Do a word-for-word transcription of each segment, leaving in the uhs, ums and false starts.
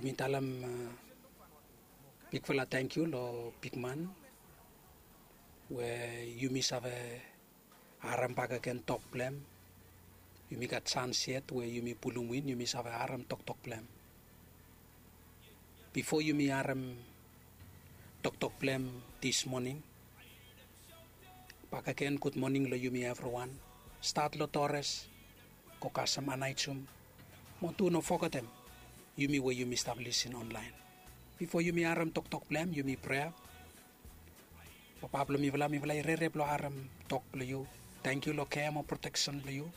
Mi talem bigfala tangkiu long bigman we yumi save harem bakegen tok blong hem. Yumi gat sans yet we yumi pulum win yumi save harem toktok blong hem. Bifo yumi harem toktok blong hem dis moning, bakegen gudmoning long yumi evriwan. Stat long tores, go kasem anaijum, mo tu no fogetem yumi we yumi stap lisin onlaen. Bifo yumi harem toktok blong hem yumi prea. Papa blong mifala, mifala i rere blong harem tok blong yu. Tangkiu long kea mo proteksen blong yu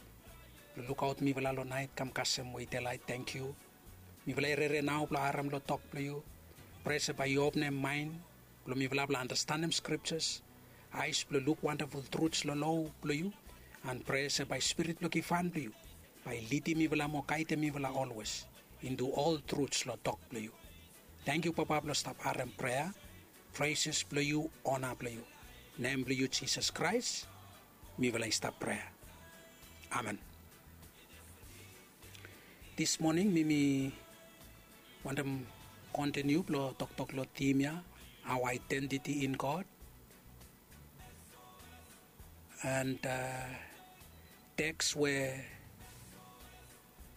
blong lukaot mifala long naet kam kasem we i delaet. Tangkiu. Mifala i rere nao blong harem long tok blong yu. Prea se bae yu openem maen blong mifala blong anastenem skriptas, aes blong luk wandaful truts long loa blong yu. An prea se bae spirit blong givhan blong yu bae i lidim mifala mo gaedem mifala olwes intu ol truts long tok blong yu. Tangkiu Papa blong stap harem prea. Preses blong yu, ona blong yu. Nem blong yu Jisas Kraes mifala i stap prea. Amen. Dis moning mi mi wantem kontiniu blong toktok long tim ya, our identity in God. And teks we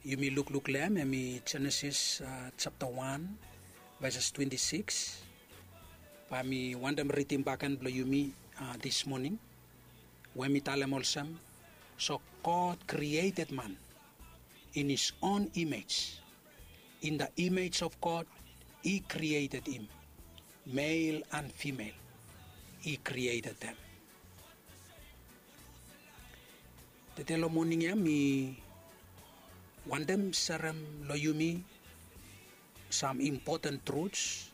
yumi lukluk long hem hem i Jenesis japta wan, veses twenti sikis. Bae mi wantem ridim bakegen blong yumi dis moning, we mi talem olsem, so God created man in his own image. In the image of God, he created him. Male and female, he created them. Tede long moning ya mi wantem serem long yumi sam impoten truts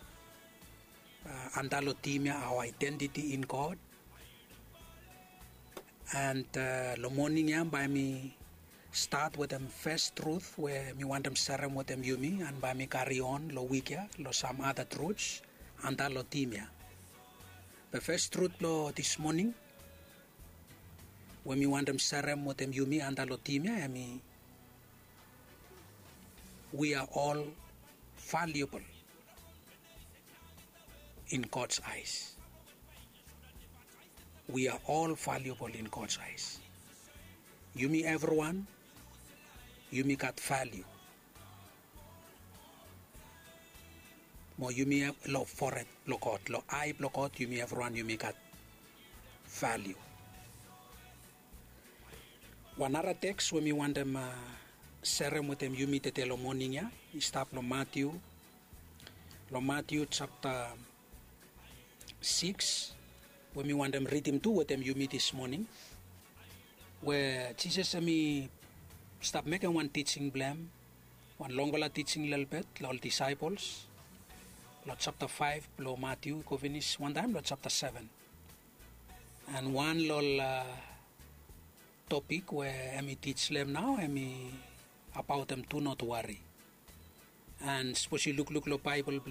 antap long tim ya, our identity in God. And long moning ya bae mi stat wetem fes trut we mi wantem serem wetem yumi, and bae mi kari on long wik ya long sam ada truts antap long tim ya. Be fes trut blong dis moning we mi wantem serem wetem yumi antap long tim ya hem i, we are all valuable in God's eyes. We are all valuable in God's eyes. Yumi evriwan yumi gat valiu. Mo yumi long fored blong God, long ae blong God yumi evriwan yumi gat valiu. Wan nara teks we mi wantem serem wetem yumi tede long moning ya i stap long Matiu, long Matiu japta sikis, we mi wantem ridim tu wetem yumi dis moning, we Jisas hem i stap mekem wan tijing blong hem, wan longfala tijing lelebet long ol disaepols, long japta faef blong Matiu i go finis wantaem long japta seven. And wan long ol topik we hem i tij long hem nao hem i abaot hem do not worry. And sapos yu lukluk long Baebol